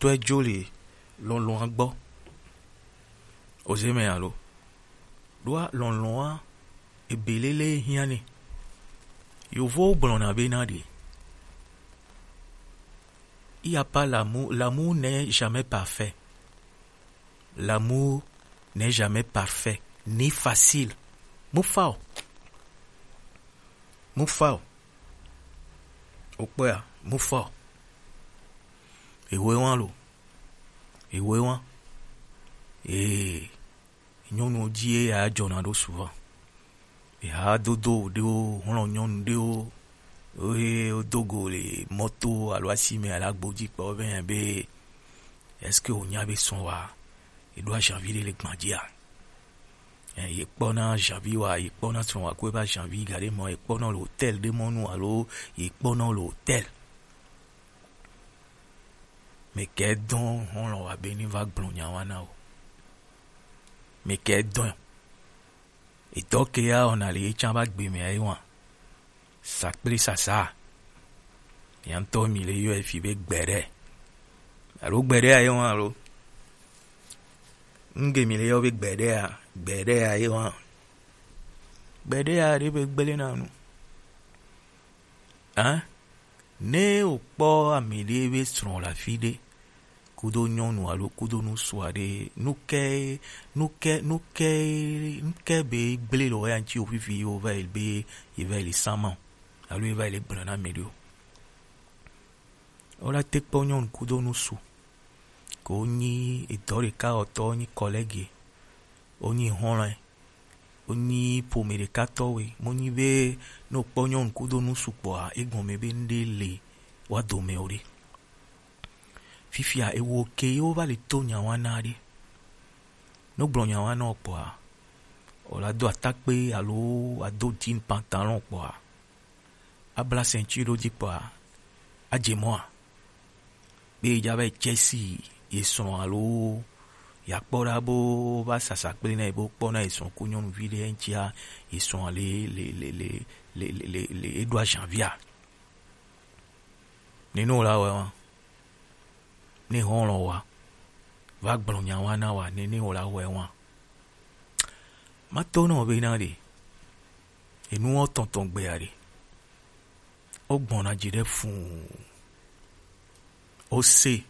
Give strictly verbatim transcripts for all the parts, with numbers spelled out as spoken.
tɔe jo le lɔlɔ̃a gbɔ. Oze mɛ alo? Ɖoa lɔlɔ̃a ebe lele hiã ni. Yovowo gblɔna bena ɖe: il n'y a pas l'amour, l'amour n'est jamais parfait. L'amour n'est jamais parfait, ni facile. Mu fa o. Mu fa o. Okpɔa, mu fa o. Ewe wan lo. Ewe wan. Ee, nyɔnu ji ye ya jɔna ɖo souvent. Eha dodo ɖewo, hlɔ̃ nyɔnu ɖewo, wohe wodo go le mɔto alo asi mɛ alo agbo ji kpɔ be, be, est-ce que wònya be srɔ̃ wa, eɖo azanvi ɖe le gbã jia? Ɛ, ye kpɔna azanvi wa, ye kpɔna srɔ̃ wa ko ebe azanvi gaɖe mɔ, ye kpɔna le hôtel ɖe mɔnu alo ye kpɔna le hôtel. Mɛ kɛ dɔn hlɔ̃ wa be ni va gblɔ nya wa na o. Mɛ kɛ dɔn. Etɔ ke ya wɔna le ye tsã va gbe mɛ ayi wa. Sakple sasa. Ya ŋutɔ mi le yɔ efi be gbɛɖɛ. Alo gbɛɖɛ ayi wa alo. Ŋge mi le yɔ be gbɛɖɛ a, gbɛɖɛ ayi wa. Gbɛɖɛ a ɖe be gble na nu. Hein? Ne wòkpɔ ame ɖe be srɔ̃ le afi ɖe, kudo nyɔnu alo kudo ŋutsu aɖe, nu ke, nu ke, nu ke, nu ke be gble le wò ya ŋuti wò fifi ye wòva yi be, ye va yi le sama o, alo ye va yi le gblɔ na ame ɖe o. Wola te kpɔ nyɔnu kudo ŋutsu, ko wonyi edɔ ɖeka wɔtɔ, wonyi collègue, wonyi hɔlɔ̃, wonyi ƒome ɖeka tɔwoe. Menyi be ne wòkpɔ nyɔnu kudo ŋutsu kpɔa, egɔme be ŋɖe le woa dome o ɖe. Fifia ewo ke ye wova le to nya wa na ɖe. Ne wogblɔ nya wa na wò kpɔa, wòla do atakpe alo ado jean pantalon kpɔa, abla ceinture ɖo dzi kpɔa, adze mɔa? Be yedza va yi tse si ye srɔ̃ alo yeakpɔ ɖa bo va sasa kple na ye be wokpɔ na ye srɔ̃ ku nyɔnuvi ɖe eŋutia, ye srɔ̃a le, le, le eɖo azanvia. Nene wòla wɔe wa. Ne hɔlɔ̃ wa va gblɔ nya wa na wa, nene wòla wɔe wa. Mato nɔ be na ɖe, enuwo tɔntɔn gbea ɖe, wogbɔna dzi ɖe fũu. Wose,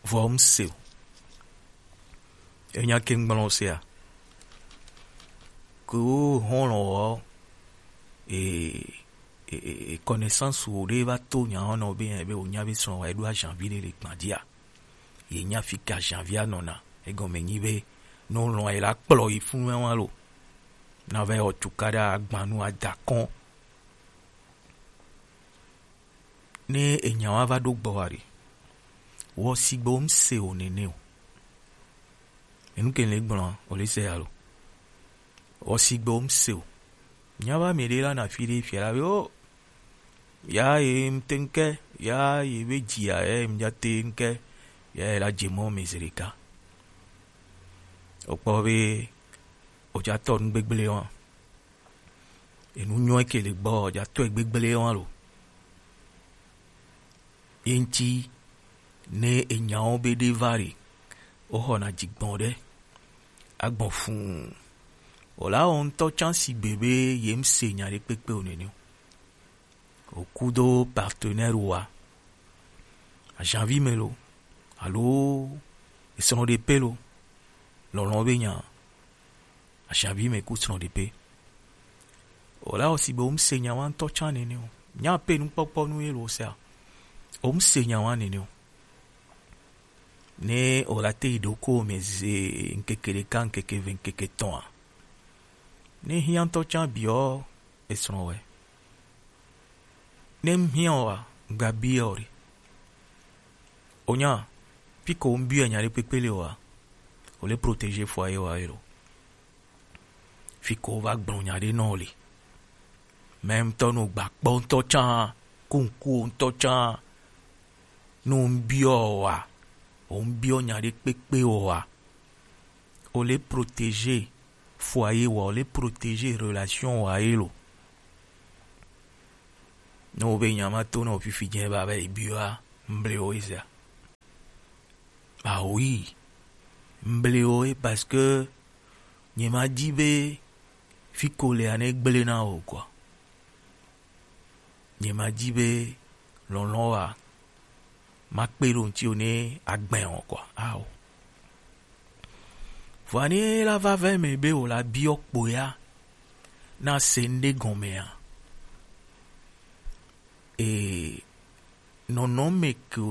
vɔ womse o. Enya ke ŋgblɔ wosea? Ke wo hɔlɔ̃ wɔ, e, e, e, e, connaissance wo ɖe va to nya wɔnɔ be, be wònya be srɔ̃ wa eɖo azanvi ɖe le gbã dzia? Ye nya fi ke azanvia nɔna. Egɔme nyi be, ne wolɔ̃ ye la kplɔ yi funu wa lo. Na va yi wɔ cukaɖa agbanu ada kɔn. Ne enya wa va ɖo gbɔ wa ɖe, wɔ sigbe womse o nene o. Enu ke le gblɔ, o le se alo? Wɔ sigbe womse o. Nya va mi ɖe la na fi ɖe fia la be, o, ya ye ŋte ŋke, ya ye be dzia, ya ye ŋdza te ŋke, ya ye la dze mɔ me zi ɖeka. Wokpɔ be wodza tɔ nu gbegblẽ wa. Enu nyɔe ke le gbɔ, wodza tɔe gbegblẽ wa lo. Ye ŋti ne enyawo be ɖe va ɖe, woxɔna dzigbɔ̃ ɖe, agbɔ̃ fũu. Wòla wɔ ŋutɔ tsã sigbe be ye ŋse nya ɖe kpekpe o nene o. Wò kudo partenaire wa, azanvi me lo, alo esrɔ̃ɖepe lo, lɔlɔ̃ be nya, azanvi me ku srɔ̃ɖepe. Wòla wɔ sigbe womse nya wa ŋutɔ tsã nene o. Nya pe nukpɔkpɔ nu ye lo sea? Womse nya wa nene o. Ne wòla te yi ɖoko me ze ŋkeke ɖeka, ŋkeke eve, ŋkeke etɔ̃a, ne hiã ŋutɔ tsã biɔ esrɔ̃ wɛ. Ne ŋhiã o wa, ŋgba biɔ o ɖe. Onya, fi ko ŋbiɔ nya ɖe kpekpe le o wa, o le protéger foyer wa ye lo. Fi ko va gblɔ nya ɖe nɔ le. Même tɔ no gba kpɔ ŋutɔ tsã, ku ŋku o ŋutɔ tsã, no ŋbiɔ o wa, o ŋbiɔ nya ɖe kpekpe o wa, o le protéger foyer wa, o le protéger relation wa ye lo. Ne wo be nya ma to na wo fifi jɛ ba be biwa mble wo isa. Ah oui, mble wo ye, parce que nye ma di be fi ko le ane gble na o quoi. Nye ma di be lɔlɔn wa ma kpe ɖo ŋuti o ne agbe o quoi. Ah o. Vɔa ne la va ve me be o la biɔ kpo ya na se ŋɖe gɔme a. E nɔnɔme ke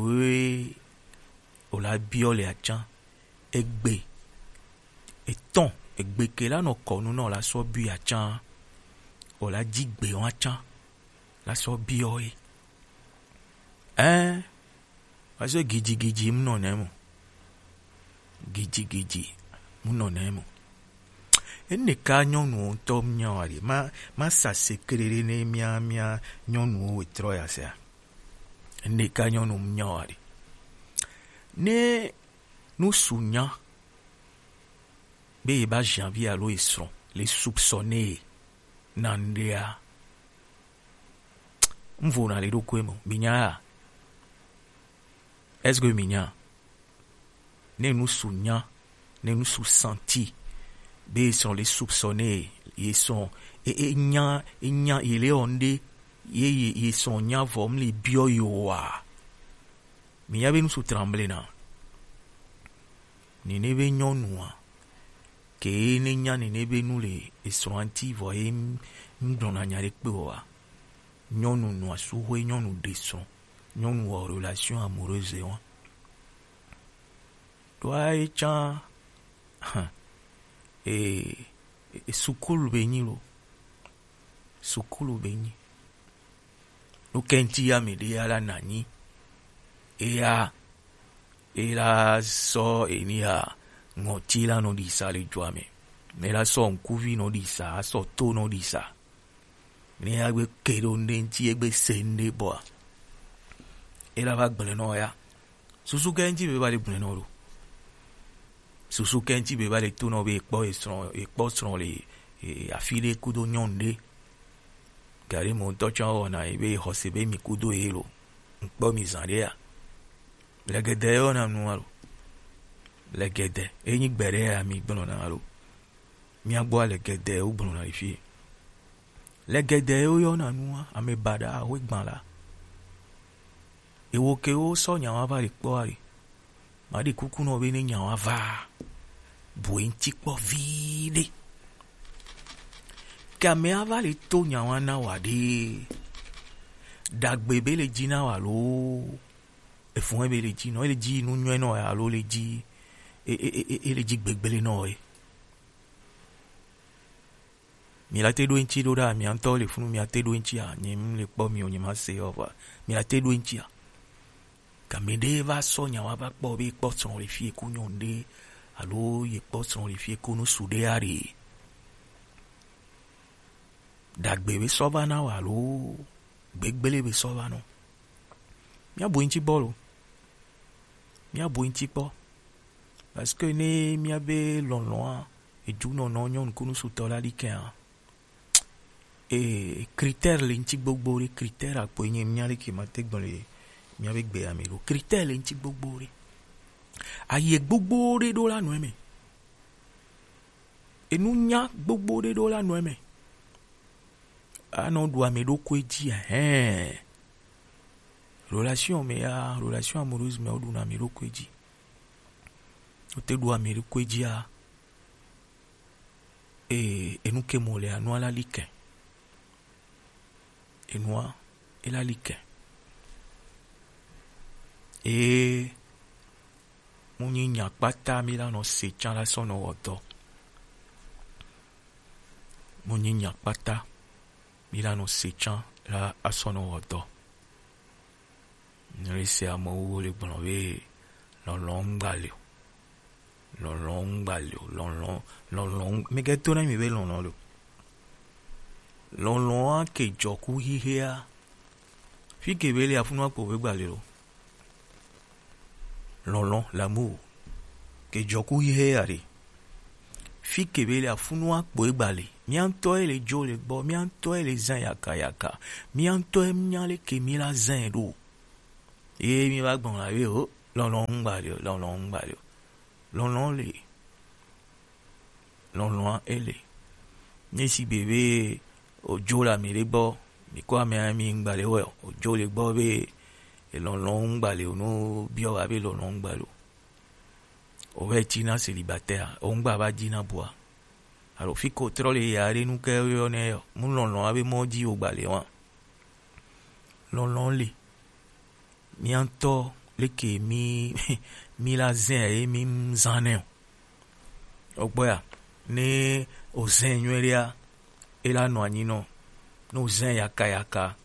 o la biɔ le acan, egbe etɔn, egbe ke la nɔ kɔnu na o la sɔ biɔ acan, o la di gbe wa can la sɔ biɔ ye. Ɛn, wa sɔ gidigidi mu nɔ nɛ mo. Gidigidi mu nɔ nɛ mo. Ene ka nyɔnu ŋutɔ nya wa ɖe. Ma, ma sa secret ɖe ne mia, mia nyɔnuwo wetrɔ ya sea. Ene ka nyɔnu nya wa ɖe. Ne nu su nya be ye ba janvi alo ye srɔ̃ le soupçonné ye na ŋɖea, ŋvo na le ɖokui mo. Mi nya ya? Est-ce que mi nya? Ne nu su nya, ne nu su senti be ye srɔ̃ le soupçonné ye, ye srɔ̃ e, e nya, e nya ye le ɔ ŋɖe ye, ye, ye srɔ̃ nya vɔ mu le biɔ ye wa. Mi nya be nu su tremble na. Nene be nyɔnua ke ne nya nene be nu le esrɔ̃a ŋuti vɔ ye ŋ-, ŋgblɔna nya ɖe kpe o wa. Nyɔnu nɔa suxwe, nyɔnu ɖe srɔ̃, nyɔnu wɔ relation amoureuse wa. Ɖoa ye can, e, e, sukulu be nyi lo. Sukulu be nyi. Nu kɛnti ya mi ɖe ya la na nyi. Eya, e la sɔ eni ya ŋɔti la nɔ ɖi sa le dua me. Ne la sɔ ŋkuvi nɔ ɖi sa, sɔ to nɔ ɖi sa. Ne ya gbe ke ɖo ŋɖe ŋti, egbe se ŋɖe bɔa, e la va gblẽ nɔ ya. Susu kɛnti be va le gblẽ nɔ ɖo. Susu kɛnti be va le to nɔ be ekpɔ esrɔ̃, ekpɔ srɔ̃ le, e, afi ɖe kudo nyɔnu ɖe. Gari mo ŋutɔ tsã wɔna ye be xɔse be mi kudo ye lo. Ŋkpɔ mi zã ɖe ya. Lɛgɛdɛ yɔ na nu alo. Lɛgɛdɛ. Enyi gbe ɖe ya mi gblɔna alo. Mia gbɔ lɛgɛdɛ wo gblɔna le fi. Lɛgɛdɛ wo yɔna nua, ame baɖa wo gbã la. Ewo ke wo sɔ nya wa va le kpɔ ale. Ma ɖi kuku nɔ be ne nya wa va. Bu eŋti kpɔ viɖe. Ke ame ava le to nya wa na wa ɖe. Dagbe be le dzi na wa lo. Efun be le dzi nɔ, ele dzi nu nyɔe nɔ alo le dzi, e, e, e, e, ele dzi gbegble nɔ ye. Mi la te ɖo eŋti ɖo ɖa, mia ŋutɔ le funu, mia te ɖo eŋti a, nye m le kpɔ mi o, nye ma se o va. Mi la te ɖo eŋti a. Game ɖe va sɔ nya wa va kpɔ be kpɔ srɔ̃ le fie ku nyɔnu ɖe, alo ye kpɔ srɔ̃ le fie ku nu su ɖe a ɖe. Dagbe be sɔ va na wa alo gbegble be sɔ va nɔ. Mia bu eŋti kpɔ lo. Mia bu eŋti kpɔ. Parce que ne mia be lɔlɔ̃a, eju nɔnɔ nyɔnu kunu sutɔ la ɖi kɛa. E critère le ŋti gbogbo ɖe, critère akpo enye mia ɖe ke ma te gblɔ le mia be gbe ame ɖo. Critère le ŋti gbogbo ɖe. Aye gbogbo ɖe ɖo la nɔ eme. Enu nya gbogbo ɖe ɖo la nɔ eme. Anɔ ɖu ame ɖokui dzi, ɛhɛn. Relation me ya, relation amoureuse me, woɖuna ame ɖokui dzi. Wote ɖu ame ɖokui dzia, e, enu ke mo le anua la li ke. Enua, e la li ke. E, mu nyi nya kpata mi la nɔ se can la sɔ nɔ wɔ dɔ. Mo nyi nya kpata mi la nɔ se can la asɔ nɔ wɔ dɔ. Ne le se amewo le gblɔ be lɔlɔ̃ ŋgba le o. Lɔlɔ̃ ŋgba le o. Lɔlɔ̃, lɔlɔ̃ ŋ-, mi ke to na mi be lɔlɔ̃ le o. Lɔlɔ̃a ke jɔ ku xixea. Fi ke be le afunua kpo be gba le lo. Lɔlɔ̃, l'amour, ke jɔ ku xixea ɖe. Fi ke be le afunua kpo egba le. Mia ŋutɔ ye le jo le gbɔ, mia ŋutɔ ye le zã yaka yaka. Mia ŋutɔ ye nya le ke mi la zã ɖo. Ye mi va gbɔn la be o. Lɔlɔ̃ ŋgba le o, lɔlɔ̃ ŋgba le o. Lɔlɔ̃ le. Lɔlɔ̃a ele. Ne sigbe be odzo le ame ɖe gbɔ, mi ko amea mi ŋgba le o, odzo le gbɔ be lɔlɔ̃ ŋgba le o, no biɔ wa be lɔlɔ̃ ŋgba le o. O vɛ tina célibataire, o ŋgba va dina bua. Alo fi ko trɔ le ya ɖe nu ke yɔ nɛ yɔ, mu lɔlɔ̃ abe mɔ dzi o gba le wa. Lɔlɔ̃ le. Mía ŋutɔ leke mi mi la zɛ ye mi zan nɛ o. O gbɔ ya, ne o zɛ nyuie ɖea, e la nɔ anyi nɔ. Ne o zɛ yaka yaka,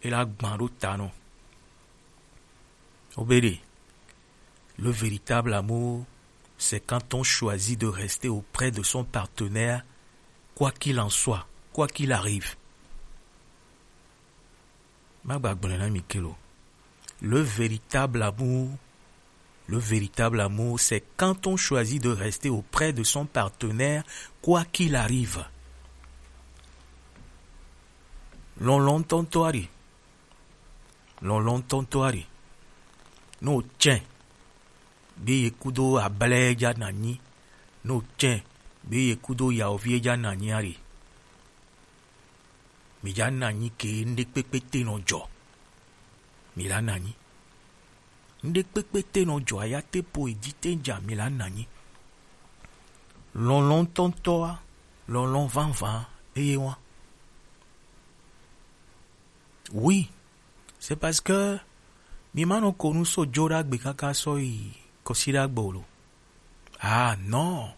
e la gbã ɖo ta nɔ. O be ɖe, le véritable amour, c'est quand on choisit de rester auprès de son partenaire, quoi qu'il en soit, quoi qu'il arrive. Ma gba gblɔe na mi ke lo. Le véritable amour, le véritable amour, c'est quand on choisit de rester auprès de son partenaire, quoi qu'il arrive. Lɔlɔ̃ ŋutɔŋutɔ aɖe. Lɔlɔ̃ ŋutɔŋutɔ aɖe. Ne o tsɛ be ye kudo ablɛ ja na nyi. Ne o tsɛ be ye kudo yaovi ja na nyi aɖe. Mi ja na nyi ke ŋɖe kpekpe te nɔ dzɔ. Mi la na nyi. Ŋɖe kpekpe te nɔ dzɔ aya te po edzi te dza mi la na nyi. Lɔlɔ̃ ŋutɔŋutɔa, lɔlɔ̃ vavã eye wa. Oui, c'est parce que mi ma nɔ ko nu so dzo ɖa gbe kaka sɔ yi kɔsi ɖa gbɔ lo. Ah non.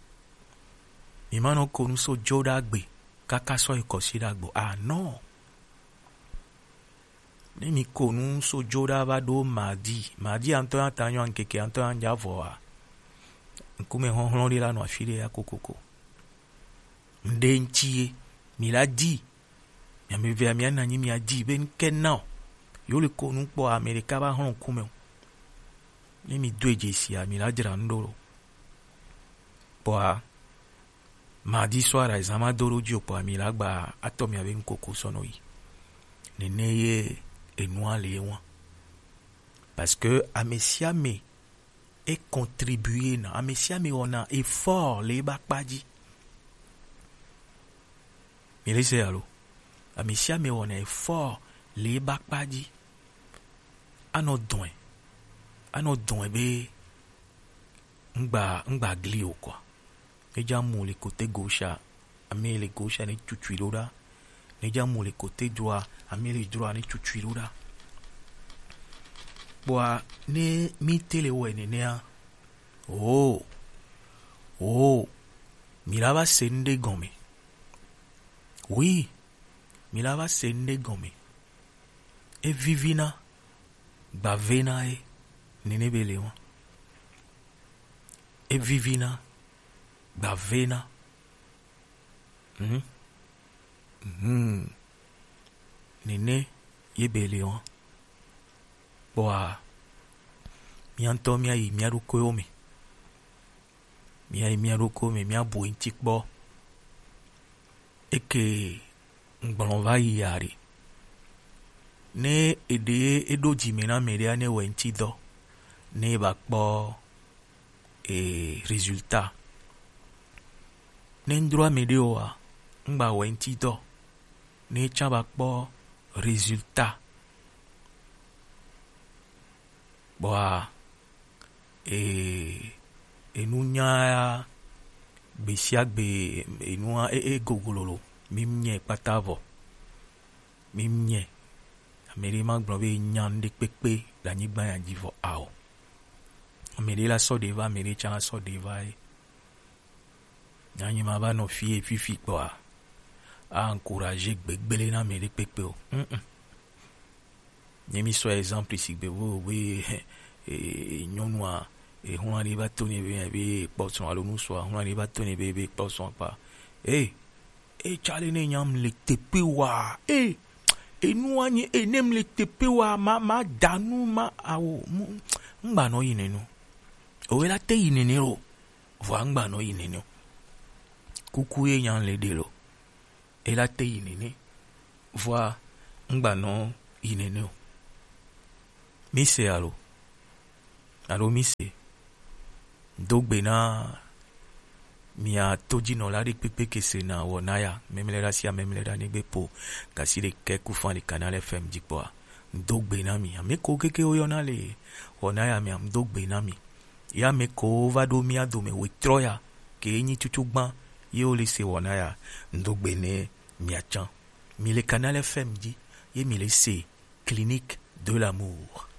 Mi ma nɔ ko nu so dzo ɖa gbe kaka sɔ yi kɔsi ɖa gbɔ. Ah non. Ne mi ko nu so dzo ɖa va ɖo mardi, mardi antɔ ya ta nyɔ ŋkeke antɔ ya ŋdza vɔ wa. Ŋkume hɔhlɔ̃ ɖe la nɔ afi ɖe ya kokoko. Ŋɖe ŋtsi ye, mi la di. Mia me vea mia na nyi mia di be ŋke na o. Yo le ko nu kpɔ ame ɖeka va hlɔ̃ ŋkume o. Ne mi do edze sia, mi la dzra nu ɖo lo. Kpɔa, mardi soir, azan ma do ɖo dzi o, kpɔa mi la gba atɔ mia be ŋkoko sɔ nɔ yi. Nene ye enua le wa. Parce que ame sia ame e contribuer na, ame sia ame wɔna effort le ebe akpa dzi. Mi le se alo? Ame sia ame wɔna effort le ebe akpa dzi. Anɔ dɔe, anɔ dɔe be ŋgba ŋgba gli o quoi. Ne dza mu le côté gauche a, ame le gauche a ne tutsui ɖo ɖa. Ne dza mu le côté droit a, ame le droit a ne tutsui ɖo ɖa. Kpɔa ne mi te le wɔe nenea, oh, oh, mi la va se ŋɖe gɔme. Oui, mi la va se ŋɖe gɔme. Evivina, gbavena ye, nene be le wa. Evivina, gbavena. Hmm. Hmm. Nene ye be le wa. Kpɔa, mia ŋutɔ mia yi mia ɖokuiwo me. Mia yi mia ɖokuiwo me, mia bu eŋti kpɔ. Eke ŋgblɔ va yi ya ɖe. Ne eɖe eɖo dzi me na ame ɖea, ne wɔ eŋti dɔ, ne ba kpɔ e résultat. Ne ŋdro ame ɖe oa, ŋgba wɔ eŋti dɔ. Ne tsa ba kpɔ résultat. Kpɔa, e, enunya ya, gbe sia gbe, enua, e, e goglo lo. Mi nye kpata vɔ. Mi nye. Ame ɖe ma gblɔ be nya ŋɖe kpekpe le anyigba ya dzi vɔ ao. Ame ɖe la sɔ ɖe va, ame ɖe tsã la sɔ ɖe va ye. Nyanyi ma va nɔ fie fifi kpɔa, a encourager gbegble na ame ɖe kpekpe o. Mm-mm. Nye mi sɔ exemple sigbe wo be, e, nyɔnua, e, huna ɖe va to ne be, be kpɔ sɔn alo nusua, huna ɖe va to ne be, be kpɔ sɔn kpa. E, e, tsale ne nyam le tepe wa. E, enua nye, e, nem le tepe wa, ma, ma danu, ma, awo, mu, ŋgba nɔ yi nenu. Owe la te yi nene o. Vɔa ŋgba nɔ yi nene o. Kuku ye nya le ɖe lo. Ela te yi nene. Vɔa ŋgba nɔ yi nene o. Mi se alo? Alo mi se. Do gbe na mia tojinɔla ɖekpekpe ke se na Wɔnaya, memlɛɖa sia memlɛɖa ne gbe po gasi ɖekɛ ku fan le Canal F M dzi kpɔa. Do gbe na mi. Ame ko keke woyɔna le Wɔnaya mea, do gbe na mi. Ya ame ko va ɖo mia dome wetrɔ ya, ke nyi tutu gbã, ye wo le se Wɔnaya, do gbe ne mia can. Mi le Canal F M dzi, ye mi le se Clinique de l'amour.